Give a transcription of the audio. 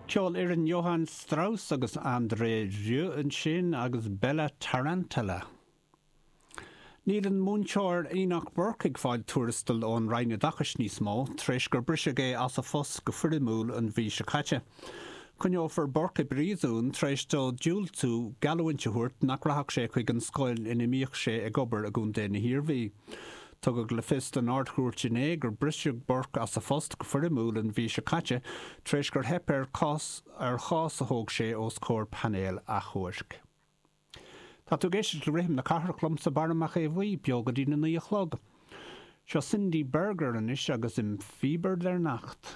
Ceolfhoireann Johann Strauss agus André Rieu ansin agus Bella Tarantella. Níl an múinteoir Enoch Burke ag fáil tuarastail ón Roinn Oideachais níos mó, tar éis gur briseadh é as a phost go foirmiúil an mhí seo caite. Coinneofar Burke i bpríosún tar éis dó diúltú geallúint a thabhairt nach rachadh sé chuig an scoil ina mbíodh sé ag obair i gContae na hIarmhí. Tugadh le fios don Ard-Chúirt inné gur briseadh Burke as a phost go foirmiúil an mhí seo caite tar éis gur theip air cás ar chás a thóg sé os comhair painéal achomhairc. Tá tú ag éisteacht le Rithim na Cathrach liomsa, Barra Mac Aodha Bhuí, beo go dtí na naoi a chlog. Seo Cindy Berger anois agus Im Fieber der Nacht.